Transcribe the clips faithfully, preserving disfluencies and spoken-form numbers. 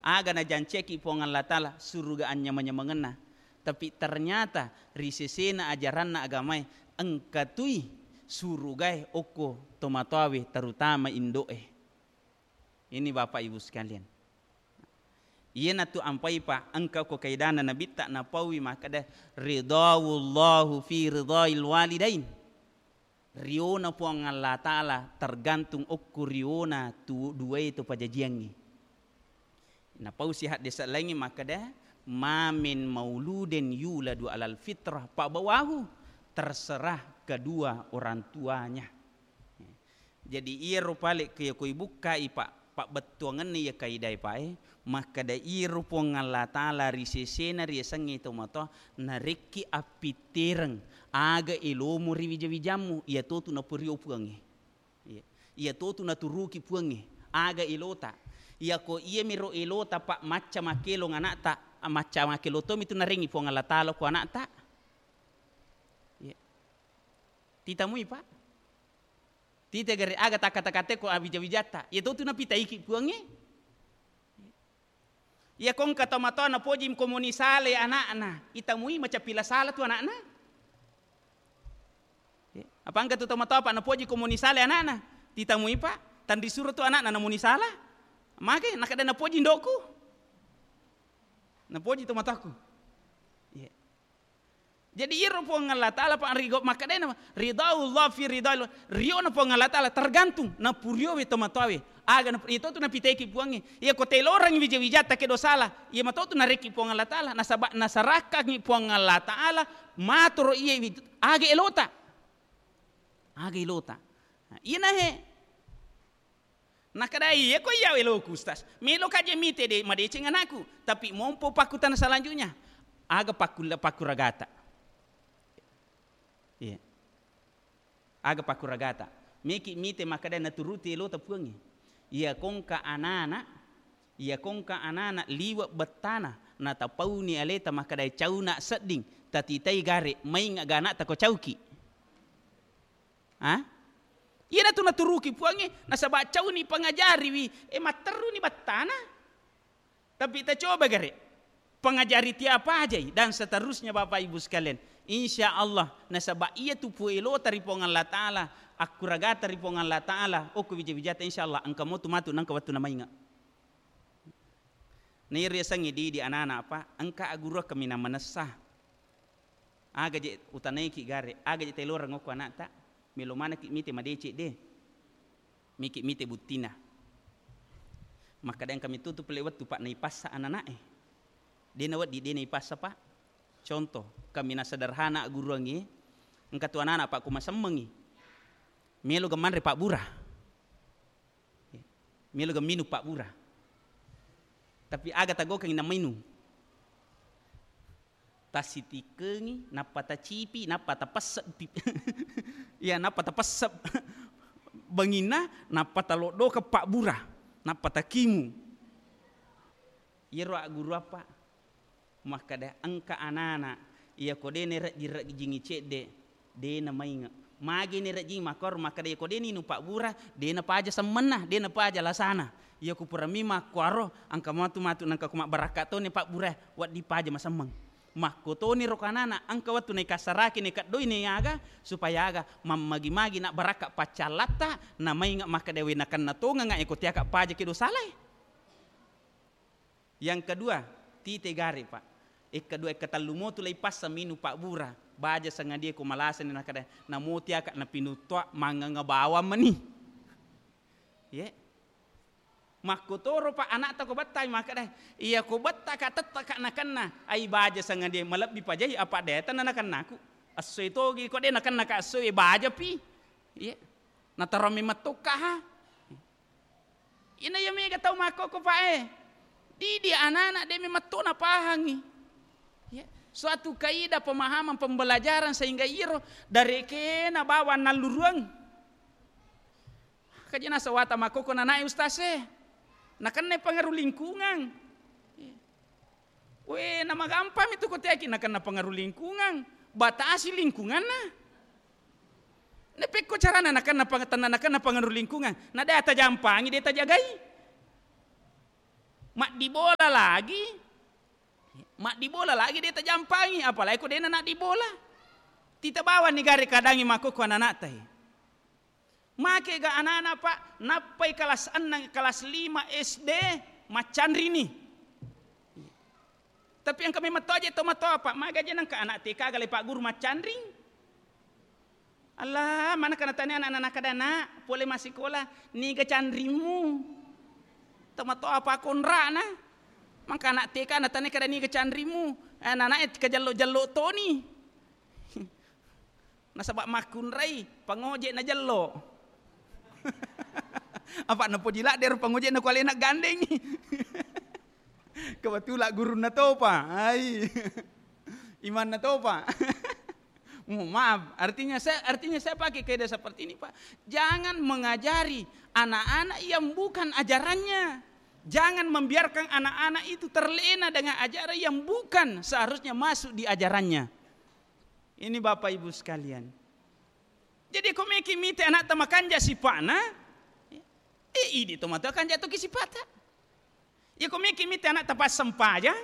Aga najanciaki Puang Allah Ta'ala suruga anyameng-nyamengenna. Tapi ternyata ri sesena ajaranna agamae engka tui surugae okko tomatoawe, terutama indo'e. Ini Bapak Ibu sekalian. Iyanatu ampai pa engka ko kaidana Nabitta napaui makkeda, "Ridawullahu fi ridail walidain." Riona Puang Allah Ta'ala tergantung okko riona tu duae to pajajiangngi. Napausi haddese laingnge makkeda, "Ma min mauludin yuladu alal fitrah fabawahu," terserah kedua orang tuanya. Jadi iyaro pale ke ko ibukkai pa, pabbettuangenna iya kaidae pae, makkeda iyaro Puang Allah Ta'ala ri sesena riasengnge tomatoa narekki appittereng aga elomu ri wija-wijammu, iyatotu napurio Puangnge. Iya. Iyatotu naturuki Puangnge, aga elota. Iyako iyamiro elota, Pak, macca makkelong anakta, macca makkelong tomi tu narengi Puang Allah Ta'ala ko anakta. Iya. Titamui, Pak. Tite gare aga takata-kate ko awija-wijatta. Iyatotu napitaiki Puangnge. Iya ko engka tomatoa napoji ko moni sala anakna, itamui macappi la sala tu anakna. Ya, apa engka tu tomatoa, Pak, napoji ko moni sala anakna, titamui, Pak, tanri suro tu anakna namoni sala. Mage nakada napoji ndokku. Napoji tomatoaku. Iya. Jadi iyaro Puang Allah Ta'ala, Pak, rigo makkedai na, "Ridhaullah fi ridhail," riona Puang Allah Ta'ala tergantung napuriowe tomatoawe. Aga nap-, iyatotu napiteki Puangnge. Iya ko telorengngi wija-wijatta kedo sala, iya matotu narekki Puang Allah Ta'ala, nasaba nasarakkangngi Puang Allah Ta'ala matoro iya wi-, aga elota. Aga elota. Nah, iyanahe. Nakadai, "Iya ko iya eloku, Ustaz. Meloka je mite de madeceng anakku, tapi mompo pakkutana selanjutnya. Aga pakkulla-, pakkuragata?" Iya. Aga pakkuragata? Meki mite makkada naturuti elota Puangnge. Iya kongka anana, iya kongka anana liwe bettana, natapauni aleta makkada cauna sedding, tatitai gare, mainga ga anakta ko cauki. Ha? Iyanatu naturuki Puangnge, nasaba cauni pangajariwi, e, matterruni bettana. Tapi tacoba gare, pangajari tiapa ajai, dan seterusnya, Bapak Ibu sekalian. Insya Allah, nasaba iyatu puelota ri Puang Allah Ta'ala, akkuragata ri Puang Allah Ta'ala, okko wija-wijata, insya Allah, engka motu matu nengka wettu namainga. Nairi yasengnge didi anana, Pak, engka agurua kaminang manessa. Aga je utanaiki gare, aga je taeloreng okko anakta, melo manekki mite madeceng de. Miki mite buttina. Makkada engka mitutu pole wettu, Pak, naipassa anana'e. De nawedding, de naipassa, Pak. Contoh, kaminang sederhana agguruangngi, engka tu anana, Pak, ko masemmengngi. Melo ga manre pabbura. Melo ga minung pabbura. Tapi aga tagaukengngi namainung? Tasitikengngi, nappa tacipi, nappa tapessep pi-, iya, nappa tapessep banginna, nappa taloddokeng pabbura, nappa takimu. Iyaro agguru apa? Makkada engka anana, iyako de nairejjing-rejjingi cedde, de namainge. Magi nairejjing makkoro, makkada iyako de ninung pabbura, de napaja semmenna, de napaja lasana. Iyako purami makkuaro, engka matu-matu nengka ko mabbarakka toni pabbura, wedding paja masemmeng. Makkotoni ro kanana, engka wettu naikassaraki, naikeddoi, naiaga, supaya aga, mammagi-magi nabbarakka paccallatta, namainge makkada we nakenna tongeng eko tiaka paja kedo salae. Yang kedua, tite gare, Pak. Yang kedua, yang ketellu motu laipassa minung pabbura. Baja sangadie ko malasani nakada, namo tiaka napinuttoa manganga bawang mani. Ye. Makkotoro, Pak, anakta ko bettai makkada, iya ko bettaka tettaka nakenna, ai baja sangadie malebbi pajai apa de tenna nakennaku. Essoi togi ko de nakennaka essoi baja pi. Ye. Nataro memettokka ha. Ina iya mega tau makkokko, Pak, e. Didi anana de memetto napahangi. Ya, suatu kaidah pemahaman pembelajaran sehingga iro darekena bawang nalluruang. Kaji nasawata makkokko nanae ustaz e. Nakenna pengaruh lingkungan. Ya. We, namagampang itu ko teaki nakenna pengaruh lingkungan. Batasi lingkunganna. Napekko carana nakenna pang-, tenna nakenna pengaruh lingkungan. Na de tajampangi, de tajagai. Maddibola lagi, maddibola lagi de' tajampangi, apalagi ko de'na naddibola. Tita bawang ni gare kadangi makkokko anana'ta e. Make ga anana, Pak, nappai kelas enneng, kelas lima S D, maccanrini. Tapi engka memang to aja tomatoa, Pak, maga je nengka anak T K gale Pak Guru maccanring. Allah, mana kana tanya anak-anak kada, Nak, pole massikola, niga canrimu? Tomatoa apa konra'na? Mangka anak T K na tanya kada niga canrimu? Eh, anak-anak e kajello-jello toni. Nasaba makkunrai, pangoje najello. Apa napoji ladde ro pangoje na ku alena gandeng. Kebetulan gurunna topa. Ai. Imanna topa. Mohon maaf, artinya saya, artinya saya pakai kaidah seperti ini, Pak. Jangan mengajari anak-anak yang bukan ajarannya. Jangan membiarkan anak-anak itu terlena dengan ajaran yang bukan seharusnya masuk di ajarannya. Ini Bapak Ibu sekalian. Jadi ko meki mite anakta makanja sipa'na, eh, idi tomatoa kanja toki sipa'ta. Ya ko meki mite anakta passempajang,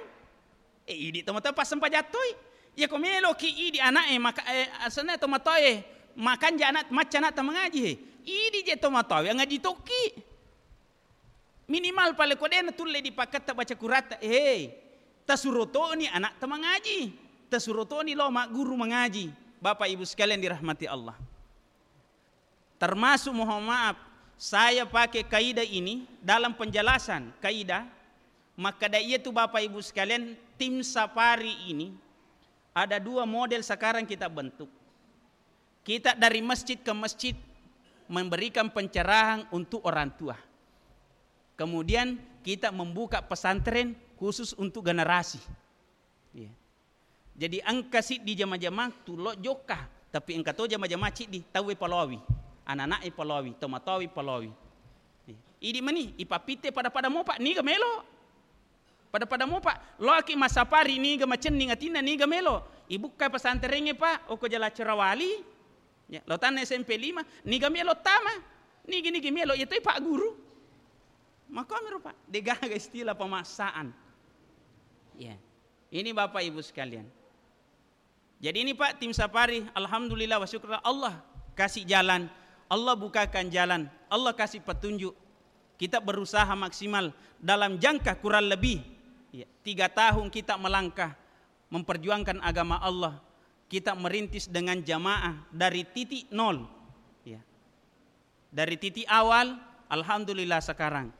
eh, idi tomatoa passempajang toi. Ya ko meloki idi anak e maka, eh, asenna tomatoa e makanja anak, macca anakta mangaji, eh, idi je tomatoa e ngaji toki. Minimal pale ko de' natulle dipakketta baca Qur'atta, eh, tasuro toni anakta mangaji, tasuro toni lo magguru mangaji. Bapak Ibu sekalian dirahmati Allah. Termasuk, mohon maaf, saya pakai kaidah ini dalam penjelasan kaidah, makkeda iyatu Bapak Ibu sekalian, tim safari ini ada dua model sekarang kita bentuk. Kita dari masjid ke masjid memberikan pencerahan untuk orang tua. Kemudian kita membuka pesantren khusus untuk generasi. Iya. Jadi engka siddi jama-jama tullo jokka, tapi engka to jama-jama ciddi tauwe paloawi, anak-anak e paloawi, tomatoawi paloawi. Iya. Idi mani, ipappitte pada-pada mopa, niga melo. Pada-pada mopa, loaki massapari niga macenning atinna niga melo. Ibukka pesantrengnge, Pak, oko Jala Cerawali. Ya, lo tanna S M P lima, niga melo tama, nigi-nigi melo, iya toi Pak Guru. Makomiro, Pak, degaga istilah pemaksaan. Ya. Ini Bapak Ibu sekalian. Jadi ini, Pak, tim safari, alhamdulillah wa syukur, Allah kasih jalan, Allah bukakan jalan, Allah kasih petunjuk. Kita berusaha maksimal dalam jangka kurang lebih, ya, tiga tahun kita melangkah memperjuangkan agama Allah. Kita merintis dengan jamaah dari titik nol. Ya. Dari titik awal, alhamdulillah sekarang.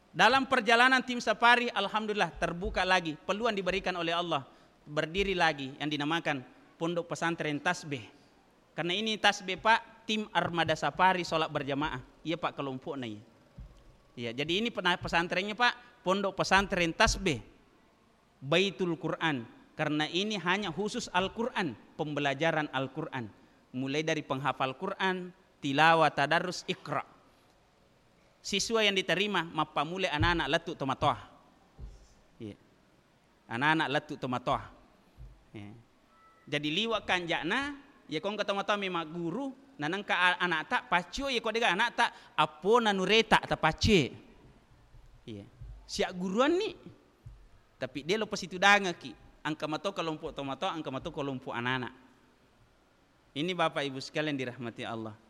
Dalam perjalanan tim safari, alhamdulillah terbuka lagi peluang diberikan oleh Allah. Berdiri lagi yang dinamakan Pondok Pesantren Tasbih. Karena ini Tasbih, Pak, tim Armada Safari sholat berjamaah. Iya, Pak, kelompoknya, iya. Iya, jadi ini pena-, pesantrennya, Pak, Pondok Pesantren Tasbih. Baitul Quran, karena ini hanya khusus Al-Quran, pembelajaran Al-Quran, mulai dari penghafal Quran, tilawah, tadarus, iqra. Siswa yang diterima mappammula anak-anak lettu tomatoa. Iya. Anak-anak lettu tomatoa. Iya. Jadi liwa kanja'na, iya ko engka tomatoa memang guru, nanengka a-, anakta paccio, iya ko dega anakta appona nureta tapacce. Iya. Siagguruanni. Tapi de' lo pasitudangekki, engka mato kelompok tomatoa, engka mato kelompok anak-anak. Ini Bapak Ibu sekalian dirahmati Allah.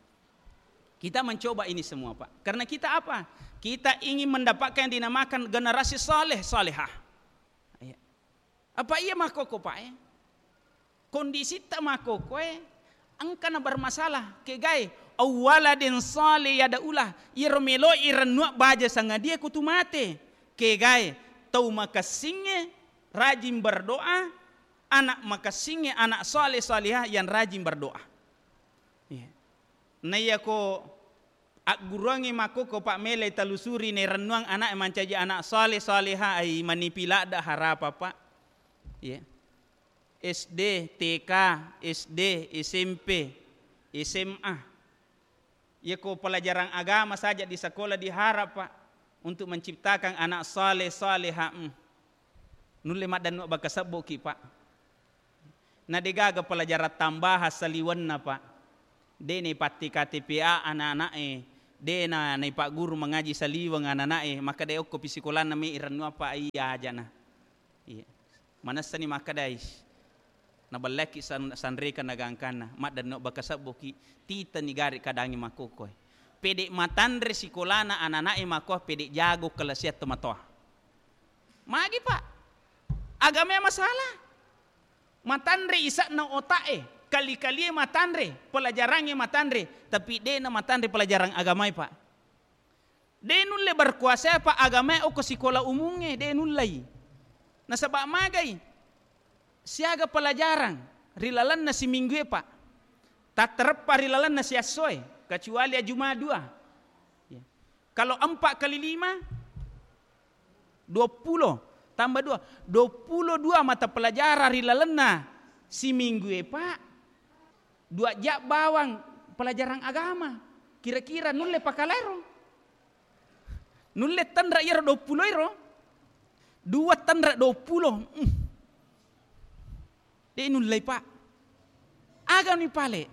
Kita mencoba ini semua, Pak. Karena kita apa? Kita ingin mendapatkan yang dinamakan generasi saleh, salehah. Iya. Apa iya makkokko, Pak, eh? Kondisitta makkokkoe engkana bermasalah, kegae, awwaladin salih yad'ulah, iyaro melo irennuang baja sangadie kutu mate, kegae, tau makessingnge rajin berdoa, anak makessingnge, anak saleh salihah yang rajin berdoa. Iya. Naiyako agguruangngi makkokko, Pak, melai talusuri nairennuang ana'e mancaji anak saleh salihah, ai manipi ladde harapa, Pak. Iya. S D, T K, S D, S M P, S M A. Iya ko pelajaran agama saja di sekolah diharap, Pak, untuk menciptakan anak saleh salihah. Hmm. Nulle maddannu bakka sebboki, Pak. Na degaga pelajaran tambahan saliwenna, Pak. De' naipatti K T P A anak-ana'e De' na, naipagguru mangaji saliweng anana'e, makkeda okko pi sikolanna me irennu apa iya ajana. Iya. Manessani makkeda, "Ais, nabellaki san-, sanreka nagangkanna, maddenno baka sebboki, titani gare kadangi makkokkoe." Pede' matanre sikolana anana'e makko, pede' jago kelasiat tomatoa. Magi, Pak? Agama masalah. Matanre ise'na otak'e, kali-kalie matanre, pelajarangnge matanre, tapi de'na matanre pelajarang agamae, Pak. De' nulle berkuasa, Pak, agamae okko sikola umungnge, de' nullei. Nasaba' magai? Siaga pelajarang ri lalenna siminggue, Pak. Tattereppa ri lalenna siassoe, kecuali ajuma dua. Ya. Kalau empat kali lima, dua puluh tambah dua, dua puluh dua mata pelajaran ri lalenna siminggu e, Pak. Dua jam bawang pelajaran agama. Kira-kira nulle pakalaero? Nulle tenra iyaro dua puluh ero? Dua tenra dua puluh. Mm. De' nullei, Pak. Agani pale?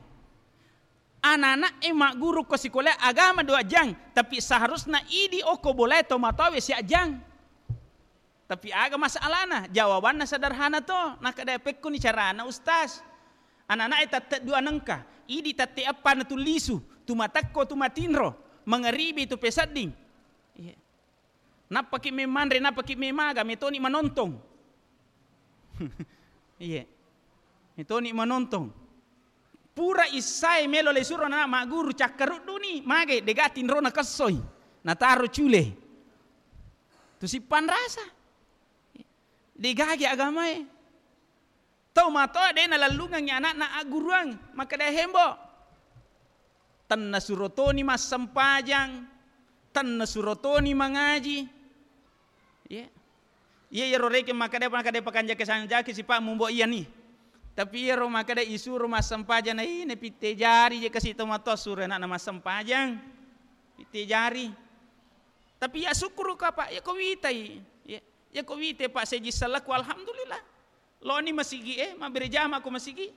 Anana'e magguru ko sikola agama dua jang, tapi seharusna idi okko bolae tomatoawe sia jang. Tapi aga masalahna? Jawabanna sederhana to, nakkeda, "Pekkuni carana, Ustaz?" Anana'e tette dua nengka, idi tette eppa na tu lisu, tu matekko, tu matinro, mangaribi tu pesedding. Iya. Nappaki memmanre, nappaki memaga, metoni manontong. Iya. Metoni manontong. Pura issae melo le suro na magguru, cakkarudduni, mage, dega tinrona kessoi. Nataro cule. Tu sippanrasa. Degage agamae. Tau matoa de' nalellungengngi ana'na agguruang, makkeda, "Hembo, tenna surotoni massempajang, tenna surotoni mangaji." Iya. Iya, iyaro rekeng makkeda, makkeda pakanja kesang jaki sipa mumbo iyani. Tapi iyaro makkeda isuro massempajang, na ine pitte jari je kasi tomatoa suro ana'na massempajang. Pitte jari. Tapi ya syukur ka, Pak, ya ko witai. Ya, ya ko witai, Pak, seji salaku, alhamdulillah. Loni masigi, eh, mabbere jama ko masigi.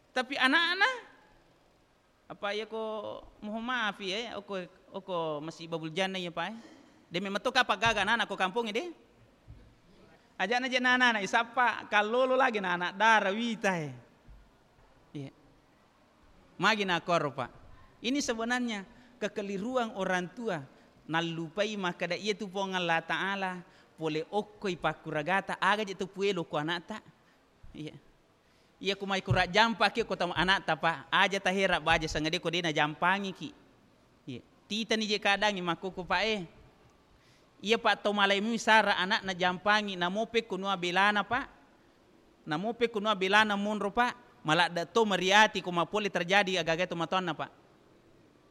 Tapi anak-anak, apa iya ko, mohon maaf ya, oko, oko masih babul jana ya, Pak, eh. De memang to kapa gaga anak ko kampung de. Ajana je anak-anak isappa kallolo lagi na anak dara wita, eh. Iya. Magi nakkoro, Pak? Ini sebenarnya kekeliruan orang tua, nallupai makkeda iya tu Puang Allah Ta'ala pole okkoi pakkuragata, aga je tu puelo ko anakta. Iya. Iya, ku mai kura jampa ki ko tau anakta, Pak. Aja tahera baja sangade ko de najampangiki. Iya. Titani je kadangi makkoko, Pak, eh. Iya, Pak, to malai mui sara anakna jampangi, namo pekko nua belana, Pak. Namo pekko nua belana monro, Pak. Maladde to mariati ko mapole terjadi agaga to matoanna, Pak.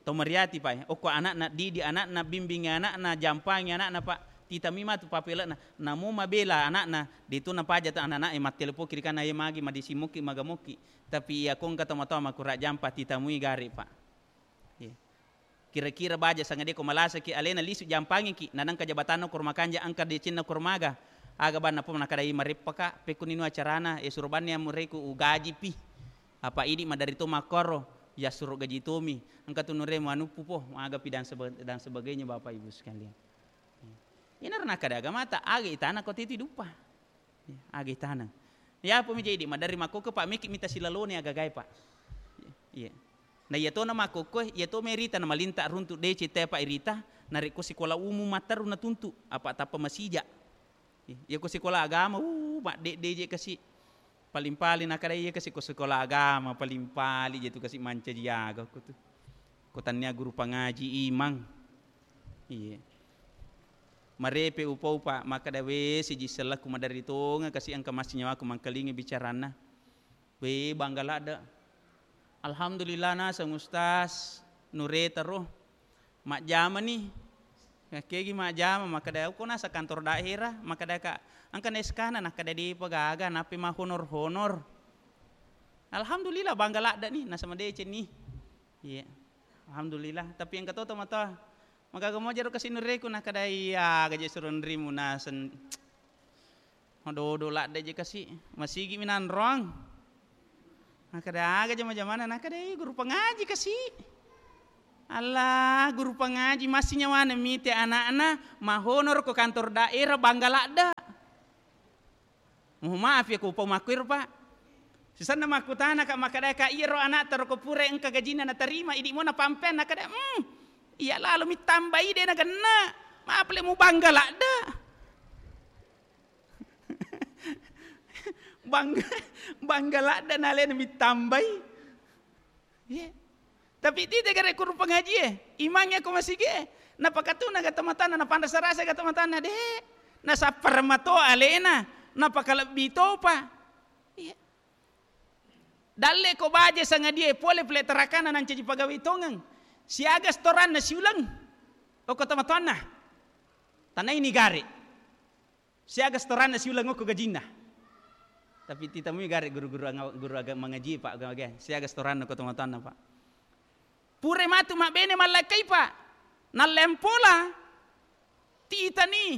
To mariati, Pak, eh. Okko anakna didi, anakna bimbingi, anakna jampangi, anakna, Pak. Titami matu papele'na. Namo mabela anakna, de tu napaja ta anak-anak e mattelepon kiri kana, "Ye magi, madisi mokki, maga mokki." Tapi iya ko engka to matoa makura jampa, titamui gare, Pak. Iya. Kira-kira baja sangade ko malasaki alena lisu jampangiki, nanangka jabatanna ko makanja engka decenna ko maga. Aga banna po nakadai mareppaka, pekkuni nu acarana, e suro banni amureku ugajipi. Apa idi maderri to makkoro, ya suro gaji tomi. Engka tu nure manuppu po, magapi dan sebe-, dan sebagainya Bapak Ibu sekalian. Inaro nakkeda agamata, aga itana ko titi duppa. Iya, aga itana. Yapo mi jadi maderri makkokko, Pak, meki mita silalone agagae, Pak. Iya. Na iya tona makkokko, iya to merita na malinta runtu dece te, Pak, irita, narekko sikola umum matteru na tuntu, apa tappa masija. Iya, iya ko sikola agama, uh, maddedde je kasi. Paling-paling nakkeda iya kasi ko sekolah agama, paling-paling je tu kasi mancaji aga ko tu. Ko tania guru pangaji imang. Iya. Marepe upau, Pak, makkeda we siji sellaku maderri tonga kasi engka massinyawaku mangkalingi bicaranna. We bangga ladde. Alhamdulillah naseng Ustaz, nureta ro. Majjamani. Yakkegi majjama, makkeda, "Uko nasa kantor daerah?" Makkeda ka, "Engka na S K-na?" Nakkeda, "Depa gaga, nappi mahonor-honor." Alhamdulillah, bangga ladde ni, nasama deceng ni. Iya. Alhamdulillah, tapi engka to tomatoa. "Magaga moja ro kasi nureku?" Nakkeda, "Iya, gaje suro nrimu nasen." Madodo ladde je kasi, masigi minanroang. Nakkeda, "Aga jama-jamana?" Nakkeda, "Iya, guru pangaji kasi." Allah, guru pangaji massi nyawana mite ana'na, mahonoro ko kantor daerah Bangga Ladda. Mohon maaf ya, ko upau makkuiro, Pak. Sisenna makkutana ka, makkada ka, "Iyaro ana'ta roko pura engka gajinna natarima, idi mo napampeang?" Nakada, "Hmm, iya lalo mittambai de nagenna. Mapale mu Bangga Ladda." Bangga, Bangga Ladda nalena mittambai. Iya. Tapi tite gare guru pangaji e, imang ya ko masigi e, napakatuna ga tomatanna, napanrasa-rasa ga tomatanna, de, nasappara mato alena, napakalebbi topa. Iya. Dalle ko baja sangadie pole pele tarakana nancaji pagawe tongeng. Siaga setoranna siuleng. Oko tomatanna. Tanai ni gare. Siaga setoranna siuleng okko gajinna. Tapi titemui gare guru-guru anga-, guru aga-, mangaji, Pak, aga-, aga. Siaga setoranna ko tomatanna, Pak. Pure matu mabbene mallakkai, Pak. Nallempola. Titani.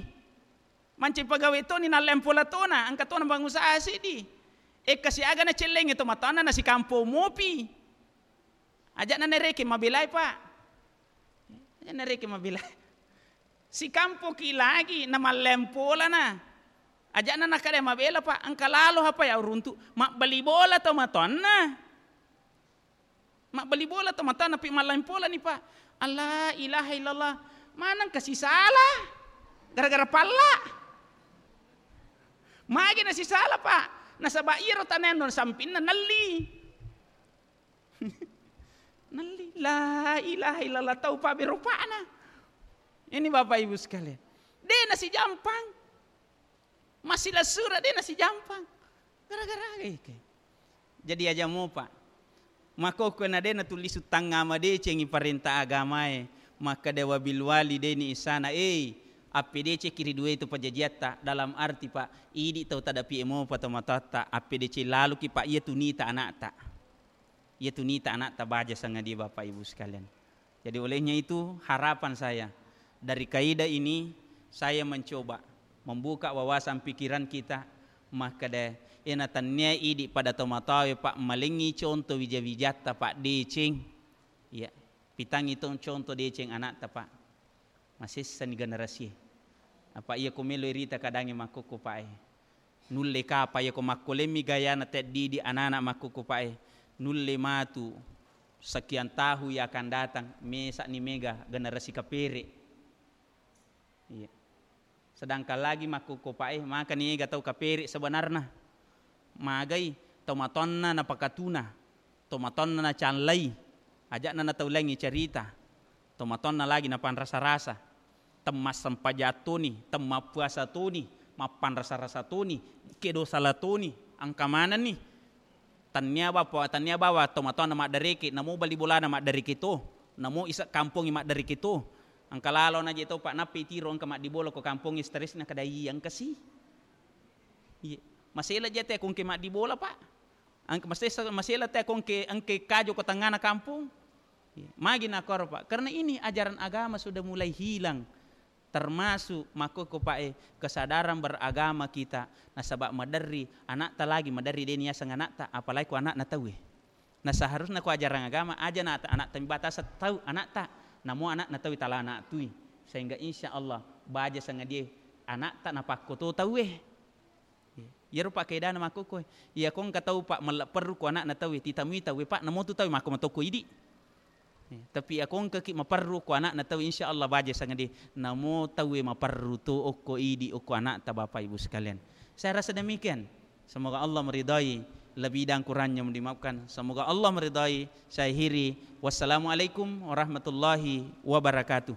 Mancai pagawe toni nallempola tona, engka tona bangusaha sidi. Ekka siaga nacellengi tomatanna nasikampo mopi. Aja'na nareke mabelai, Pak. Aja'na nareke mabelai. Sikampoki lagi na mallempolana. Aja'na nakada mabela, Pak, engka lalo apa ya uruntu mabbali bola to matonna. Mabbali bola to matonna pi mallempolani, Pak. Allah ilaha illallah. Maneng kasi salah. Gara-gara palla. Magi nasi salah, Pak. Nasaba iyaro tanenno sampinna nelli. Nelli, la ilaha illallah, tau pabberupana. Ini Bapak Ibu sekalian. De nasijampang. Masih lasura de nasijampang. Gara-gara eke. Jadi aja mopa. Makkokko na de natulli suttang ama decengi parenta agamae. Makkada wabil wali deni isana. Eh, appedeceki ri dua itu pajajiatta. Dalam arti, Pak, idi tau tadapi emopa to matatta. Appedece laluki, Pak, iya tunita anakta. Iya tunita anakta baja sangadie, Bapak Ibu sekalian. Jadi olehnya itu harapan saya, dari kaidah ini saya mencoba membuka wawasan pikiran kita, makkada ena tannia idi pada tomatoawe, Pak, malengi contoh wija-wijatta, Pak, deceng. Iya, pitangi tong contoh deceng anakta, Pak. Masessani generasie. Apa iya ko melo irita kadangi makkokko, Pak, e. Nulle kapa iya ko makkolemmi gayana teddidi anana makkokko, Pak, e. Nulle matu sekian tahu yang akan datang, mesa'ni mega generasi kapere. Iya. Sedangkan lagi makkokko, Pak, e, makani ega tau kapere sebenarna. Magai tomatonna napakatuna, tomatonna nacallai, aja'na nataulengi cerita, tomatonna lagi napanrasa-rasa, temmassempajang toni, temmappuasa toni, mappanrasa-rasa toni, kedo sala toni, engka manenni. Tannia bapa, tannia bawa tomatonna maddareke, namo bali bolana maddareke to, namo isa kampongi maddareke to. Engka lalo naje to, Pak, nappi tiro engka maddibola ko kampongi stres na kada iya engka si. Iya. Masela jate ko engke maddibola, Pak. Engka masesa-, masela te ko engke, engke kajo ko tengngana kampong. Iya. Magi nakoro, Pak. Karena ini ajaran agama sudah mulai hilang. Termasuk makkokko, Pak, e, kesadaran beragama kita. Nasaba maderri anakta lagi, maderri deni yaseng anakta, apalagi ko anakna tauwe. Nah, seharusnya ko ajaran agama aja na anakta mibatasa tau anakta. Namo anakna tauwe tala anak tui. Sehingga insya Allah baja sangadie anakta napakkoto tauwe. Iyaro pakkedana makkokkoe, iyako engka tau, Pak, mella perru ko anakna tauwe, titamui tauwe, Pak, namotu tauwe makko matokko idi. Tapi iyako engkaki maperru ko anakna tauwe, insya Allah baja sangadie, namo tauwe maperru to okko idi, okko anakta, Bapak Ibu sekalian. Saya rasa demikian. Semoga Allah meridai, lebih dan kurangnya dimaafkan. Semoga Allah meridai. Saya akhiri. Wassalamualaikum warahmatullahi wabarakatuh.